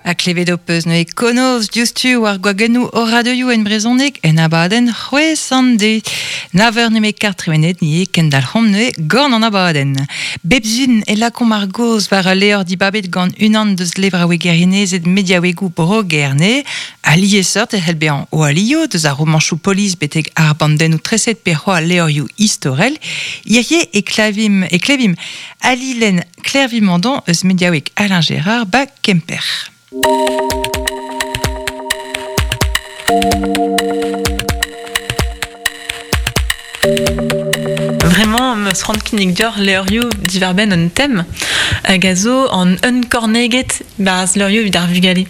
Ha klevet ho peus neuze konoz diouzhtu war gwagennoù o radioioù en brezhoneg en abadenn c'hwezh an de. Nav eur nemet kart tremenet ni eo kendalc'homp neuze gant an abadenn. Bep sun e lakaomp ar gaoz war ul levr dibabet gant unan deus levraouegerinezed mediaouegoù Bro-Gerne. Ha liesseurt e c'hell bezañ o alioù deus ar romanchoù polis betek ar bandennoù treset pe c'hoazh levrioù istorel. Hirie e klavimp, e klevimp Ali lenn Klervi Mandon eus mediaoueg Alain Gérard ba Kemper. Vraiment, meus c'hoant kinnig deoc'h levrioù diwar-benn un tem hag a zo an unkorneged barzh levrioù evit ar vugale.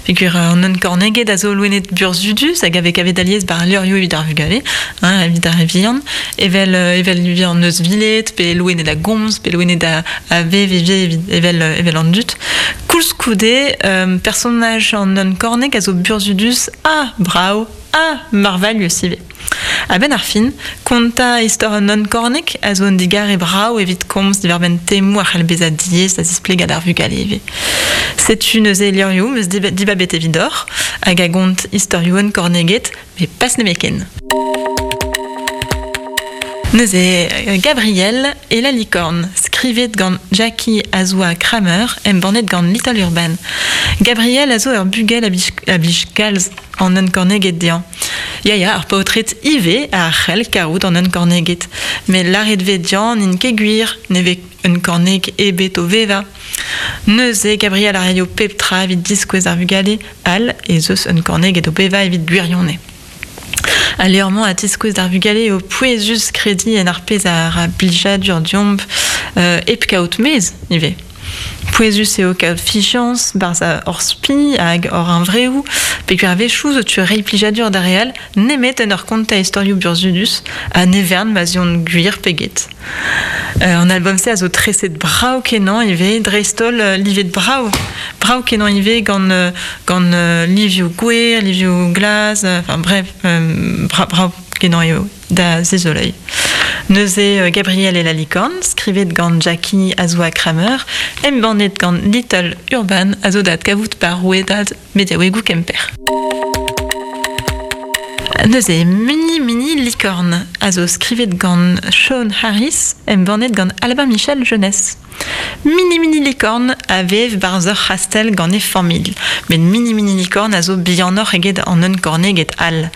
Peogwir an unkorneged a zo loened burzhudus hag a vez kavet alies bar levrioù evit ar vugale, hein, evit ar re vihan, evel evel ivez an euzhviled, pe loened a gomz, pe loened a, a vev ivez evel, evel an dud. Koulskoude, um, personaj an unkorneg a zo burzhudus ha brav ha marvailhus ivez. A-benn ar fin, kontañ istor un unkorneg a zo un digarez brav evit komz diwar-benn temoù a c'hall bezañ diaes da zisplegañ d'ar vugale ivez. Setu neuze levrioù 'm eus dibabet evidoc'h hag a gont istorioù unkorneged, met pas nemetken. Neuze, Gabriel et la licorne, skrivet gant Jackie Azoua Kramer, embannet gant Little Urban. Gabriel a zo ur bugel a blij kalz an unkorneged dezhañ. Ya, ya, ar paotred ivez a c'hell kaout an unkorneged. Met lâret 'vez dezhañ n'int ket gwir, ne vez unkorneg ebet o vevañ. Neuze, Gabriel a raio pep tra evit diskouez ar vugale all ez eus unkorneged o vevañ evit gwirionez. Al levr-mañ a tiskouez d'ar vugale eo pouezus krediñ en ar pezh a ra blijadur deomp hep kaout mezh ivez. Pouezus eo kaout fiziañs 'barzh hor spi hag hor huñvreoù peogwir a-wechoù zo tu reiñ plijadur d'ar re all nemet en ur kontañ istorioù burzhudus ha ne vern ma 'z eont gwir pe get. An album-se a zo treset brav-kenañ ivez, dreist-holl livet brav, brav-kenañ ivez gant gant livioù gwer, livioù glas, enfin bref, brav-kenañ eo da zizoleiñ. Neuze Gabriel et la licorne, skrivet gant Jackie Azoua Kramer, embannet gant Little Urban, a zo da adkavout par rouedad mediaouegoù Kemper. Neuze, Mini Mini Licorne a zo skrivet gant Sean Harris, embannet gant Albin Michel Jeunesse. Mini Mini Licorne a vev barzh ur c'hastell gant e familh, met Mini Mini Licorne a zo bihanoc'h eget an unkorneged all.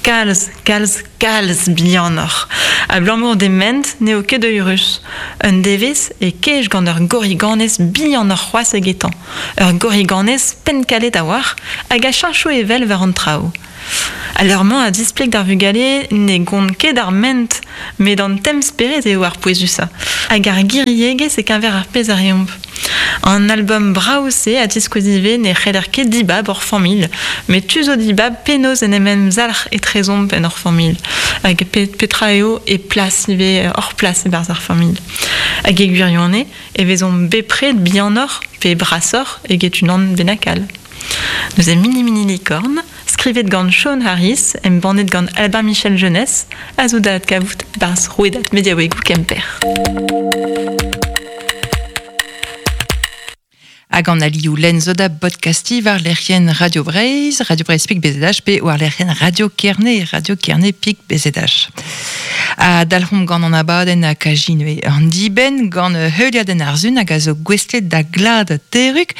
Kalz, kalz, kalz bihanoc'h. Abalamour d'he ment n'eo ket eürus. Un devezh e kej gant ur gorriganez bihanoc'h c'hoazh egetañ. Ur gorriganez penn-kalet a-walc'h hag a cheñcho evel war an traoù. Al leur-mañ a zispleg d'ar vugale ne gont ket ar ment, met an temz-spered eo ar pouezusañ, hag ar giriegezh e-keñver ar pezh a reomp. An album brav-se a ziskouez ivez ne c'heller ket dibab hor familh, met tu zo dibab penaos en em emzalc'h etrezomp en hor familh, hag petra eo e plas ivez hor plas e-barzh ar familh. Hag e gwirionez e vezomp bepred bihanoc'h pe brasoc'h eget unan bennak all. Neuze Mini Mini Licorne, skrivet gant Sean Harris, embannet gant Albin Michel Jeunesse, a zo da adkavout barzh rouedad mediaouegoù Kemper. Hag an alioù lenn zo da bodkastiñ war lec'hienn Radio Breizh, Radio Breizh Pik BZH pe war lec'hienn Radio Kerne, Radio Kerne Pik BZH. Ha dalc'homp gant an abadenn ha kajinue an dibenn gant heuliadenn ar sun hag a zo gouestlet da glad Terrug.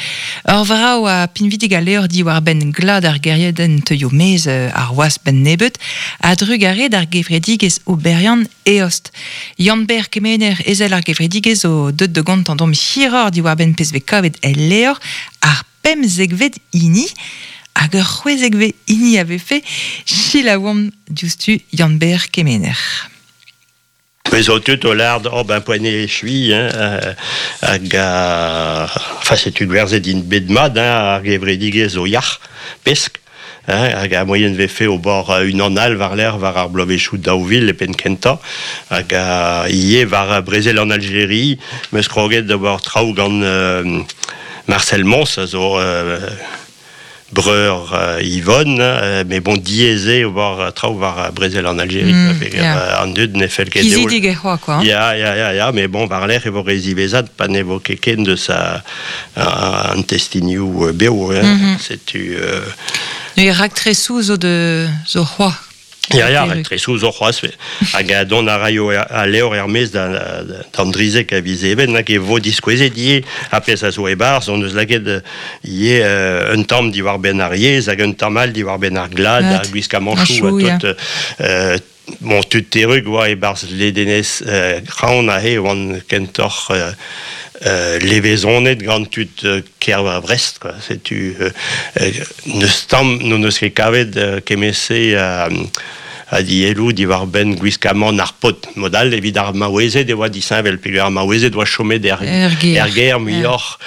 Ur vrav ha pinvidik a levr diwar-benn glad ar gêriadenn teuio maez ar wazh benn nebeut a-drugarez d'ar gevredigezh oberiant Eost. Yann-Ber Kemener, ezel ar gevredigezh, zo deuet da gontañ deomp hiroc'h diwar-benn pezh 'vez kavet el levr, ar pemzekvet hini. Hag ur c'hwezekvet hini a vefe. Selaouomp diouzhtu Yann-Ber Kemener. Me zo tud o lâret oh ben poent eo echuiñ hein, hag enfin setu gwerzhet int bet mat hein, ar gevredigezh zo yac'h pesk. Hag ar moaien 'vefe ober unan all war-lerc'h war ar bloavezhioù 2000 e penn kentañ hag ivez war brezel an Aljeri 'm eus kroget d'ober traoù gant Marcel Mons a zo breur Yvonne, mais bon diaes eo war traoù war brezel an Algérie, an dud ne fell ket dezho. Kizidig e c'hoa, quoi. Ya, mais bon, war-lerc'h e vo re ziwezhat pa ne vo ket ken deus an testinioù bev, hein. Setu... Ne raktresoù zo de zo c'hoa. Ya, raktresoù zo c'hoazh. Hag dont a raio al levr er-maez d'an drizek a viz Even, hag e vo diskouezet ivez ar pezh a zo e-barzh. Hon eus lakaet ivez un tamm diwar-benn ar yezh hag un tamm all diwar-benn ar glad, ar gwiskamanchoù ha tout. Bon, tud terrug oa e-barzh ledenez Kraon aze oant kentoc'h levezonet gant tud kêr Brest, quoi. Setu n'eus tamm n'hon eus ket kavet kement-se a dielloù diwar-benn gwiskamant ar paotr. Mod all, evit ar maouezed e oa disheñvel, peogwir ar maouezed oa chomet er gêr muioc'h.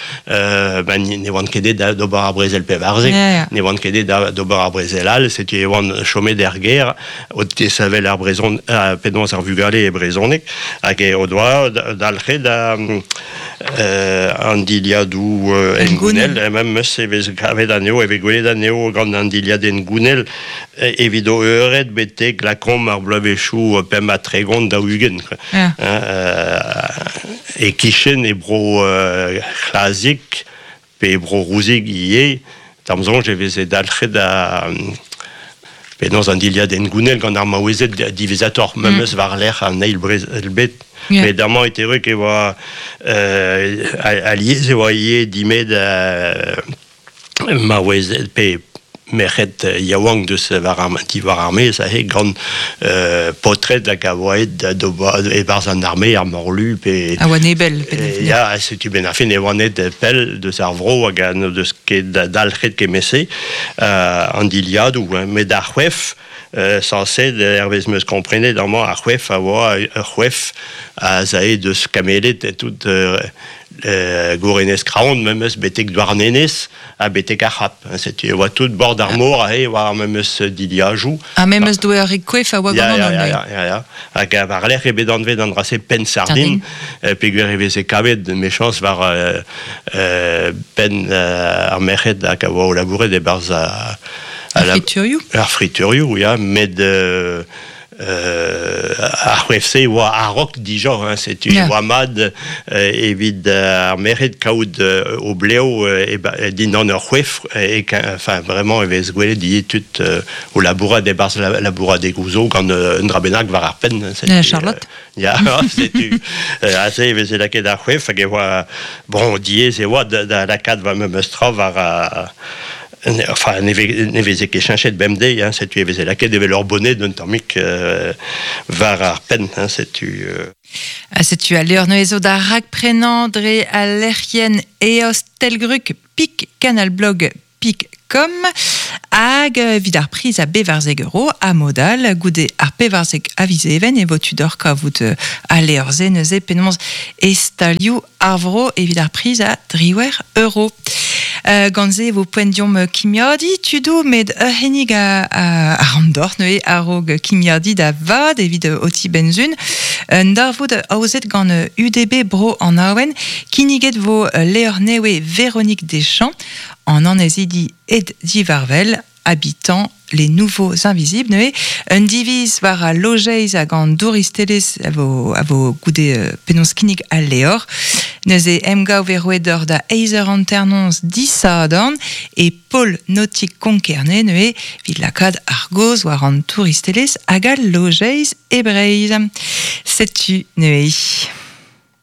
Ben, ne oant ket aet d'ober ar brezel 14, ne oant ket aet d'ober ar brezel all, setu e oant chomet er gêr o tesavel ar brezhon, penaos ar vugale e brezhoneg, hag o doa dalc'het an dilhadoù hengounel, memes e vez kavet anezho, e vez gwelet anezho gant an dilhad hengounel evit o eured betek lakaomp ar bloavezhioù 35 40. E-kichen e bro C'hlazig pe bro Rouzig ivez, d'am soñj e veze dalc'het a penaos an dilhad hengounel gant ar maouezed diwezhatoc'h, memes war-lerc'h an eil brezel bed. Met amañ e terrug e oa alies e oa ivez dimet maouezed pe merc'hed yaouank deus diwar ar maez aze gant paotred hag a oa aet e-barzh an arme, ar morlu pe... A oa nebell. Ya, setu benn ar fin e oant aet pell deus ar vro hag n'o deus ket dalc'het kement-se an dilhadoù. Met ar c'hoef, sañset, hervez 'm eus komprenet amañ, ar c'hoef a oa ur c'hoef a zae deus Kameled tout Gourenez Kraon memes betek Douarnenez ha betek ar C'hap. Setu e oa tout bord ar mor aze war ar memes dilhajoù. Ha memes doare koef a oa gant an holl. Ya. Hag war-lerc'h eo bet anvet an dra-se penn sardin, peogwir e veze kavet mechañs war penn ar merc'hed hag a oa o labourat e-barzh ar friturioù. Ar friturioù, ya, met ar c'hoef-se oa a-raok dija, hein, setu yeah. oa mat evit ar merc'hed kaout o blev dindan ur c'hoef, e, enfin vraiment e vez gwelet ivez tud o labourat e-barzh labouradegoù zo gant un dra bennak war ar penn. Charlotte Ya, setu aze e veze lakaet ar c'hoef hag e oa bon diaes e oa da lakaat va memes tra war Enfin, ne veze ket cheñchet bemdez, hein, setu e veze lakaet evel ur boned un tammig war ar penn, hein, setu... Ha setu al levr neuze zo da rakprenañ dre al lec'hienn eostelgrug pik canalblog pik com hag evit ar priz a bevarzek euro ha mod all goude ar pevarzek a viz Even e vo tu deoc'h kavout al levr-se neuze penaos e stalioù ar vro evit ar priz a driwec'h euro. Gant se e vo poent deomp kimiadiñ tudoù met ur c'hinnig a, a ran deoc'h neuze a-raok kimiadiñ da vat evit ho ti-benzun. Un darvoud aozet gant UDB Bro an Awen kinniget vo levr nevez Véronique Deschamps an annezidi ed divarvel habitant les nouveaux invisibles neuze un diviz war al lojeiz hag an douristelezh a vo, a vo goude penaos kinnig al levr. Neuze emgav e roet deoc'h da eizh eur hanternoz disadorn e pol nautik Konkerne neuze evit lakaat ar gaoz war an touristelezh hag al lojeiz e Breizh. Setu neuze.